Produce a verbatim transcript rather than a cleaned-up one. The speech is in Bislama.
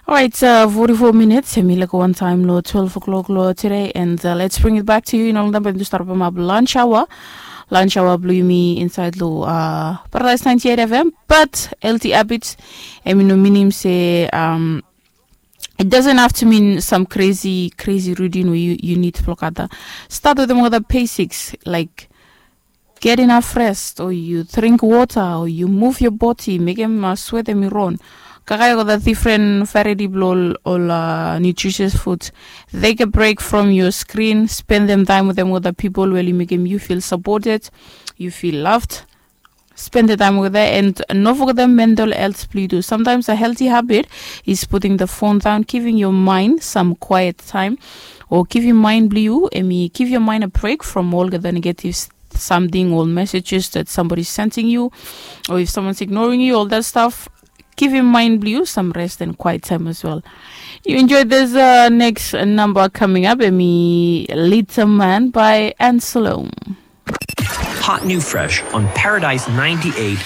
Orait, forty-four minits em i laik wan taim long twelve o'clock long today, and uh, let's bring it back to you. Ino long taim bai mi start pemap lunch hour. Lunch hour blong yumi inside long uh, Paradise ninety-eight F M. But healthy habits, em i no minim se um, it doesn't have to mean some crazy crazy routine where you, you need to look at the start with them with the basics, like get enough rest, or you drink water, or you move your body, mekem uh, sweat em i ron. Kakae go the different variety blong ol uh, nutritious food. Take a break from your screen, spend them time with them with the people where you mekem you feel supported, you feel loved. Spend the time with her and no forget the mental health blong you too. Sometimes a healthy habit is putting the phone down, giving your mind some quiet time, or giving mind blong you, emi give your mind a break from all the negative something or messages that somebody's sending you, or if someone's ignoring you, all that stuff. Give your mind blue some rest and quiet time as well. You enjoy this uh, next number coming up, emi Little Man by Anselom. Hot new fresh on Paradise ninety-eight